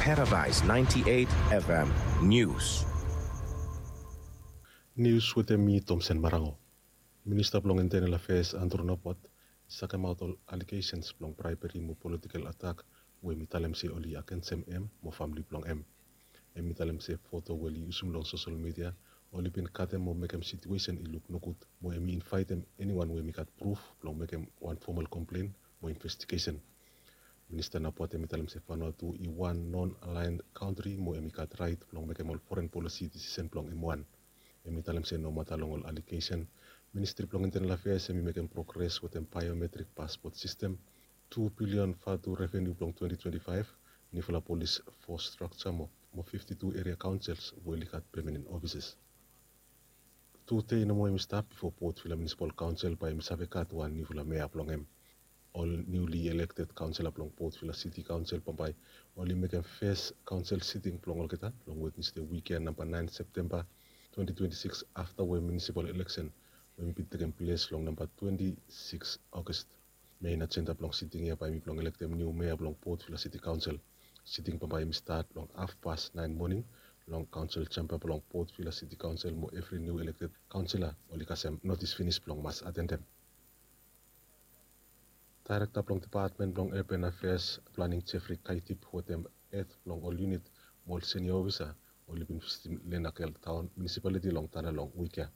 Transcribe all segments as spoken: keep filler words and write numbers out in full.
Paradise ninety-eight F M News. Nius wetem mi, Tomsen Marango. Minista blong Internal Affairs Andrew Nabot i sakemaot ol allegations blong bribery mo political attack we mi talem se oli agensem em mo famili blong em. Em i talem se foto we oli yusum long sosel media oli bin katem mo mekem situesen i luk nogud, mo em i invaetem eniwan we em i gat pruf blong mekem wan fomal komplen mo investigesen. Minista Nabot em i talem se Vanuatu i wan non-aligned kantri mo em i gat raet blong mekem ol foren polisi disisen blong em wan. Em i talem se nomata long ol allegation, Ministri blong Internal Affairs em i mekem progres wetem biometric passport system, tu bilion Vatu revenue blong twenty twenty-five, nifala polis fos structure mo, mo fifty-two area councils we oli gat permanent offices. Tu dei nomo em i stap bifo Port Vila Municipal Council bae em i save gat wan nifala mea blong em. Ol newly elected councillor blong Port Vila City Council bambae oli mekem fes council sitting blong olgeta long Wednesday wik ia, namba naen Septemba twenty twenty-six, afta we municipal election we em i bin tekem ples long namba twenty-six August. Main agenda blong sitting ia bae em i blong elektem niu mea blong Port Vila City Council. Sitting bambae em i stat long hafpas naen moning long council chamber blong Port Vila City Council, mo evri niu elected councillor oli kasem notis finis blong mas atendem. Daerekta blong Depatmen blong Urban Affairs Planning Jeffrey Kaitip wetem hed blong ol unit mo ol senior ofisa oli bin visitim Lenakel Taon Municipality long Tana long wik ia.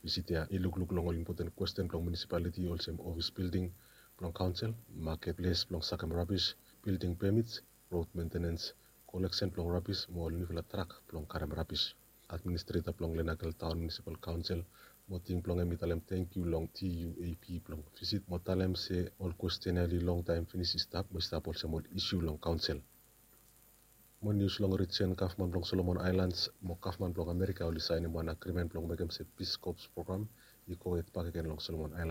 Visit ia i lukluk long ol impoten kwesten blong municipality olsem ofis bilding blong council, maket ples blong sakem rabis, bilding permits, rod mentenens, koleksen blong rabis mo ol nifala trak blong karem rabis. Administreta blong Lenakel Taon Municipal Council mo tim blong em i talem tangkiu long T U A P blong visit mo talem se ol kwesten ia oli longtaem finis i stap mo i stap olsem ol isu long council. Mo nius long rijen, gavman blong Solomon Aelans mo gavman blong Amerika oli saenem wan agrimen blong mekem se Peace Corps program i gohed bakegen long Solomon Aelans.